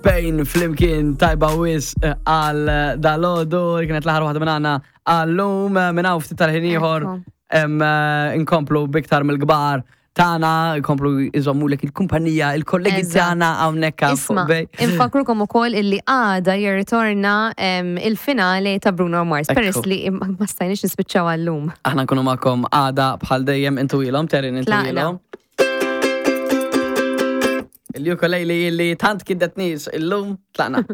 Pain flimkien tajba wis eh, għal eh, dalodu, kienet l-aħħar waħda minn għandna għallum eh, minn hawn ftit tal-ħin ieħor inkomplu biktar mill-kbar tagħna, inkomplu iżommulek il-kumpanija, il-kollegi tagħna hawnhekk fuq bej. Infakrukom ukoll illi għada jirritorna il-finale ta' Bruno Mars, peress li ma stajniex nispiċċaw għallum. Aħna nkunu magħkom għada bħal dejjem intu ilhom, Terin intu ilhom. Il-ukulele li tant kiddet nies illum tlaqna.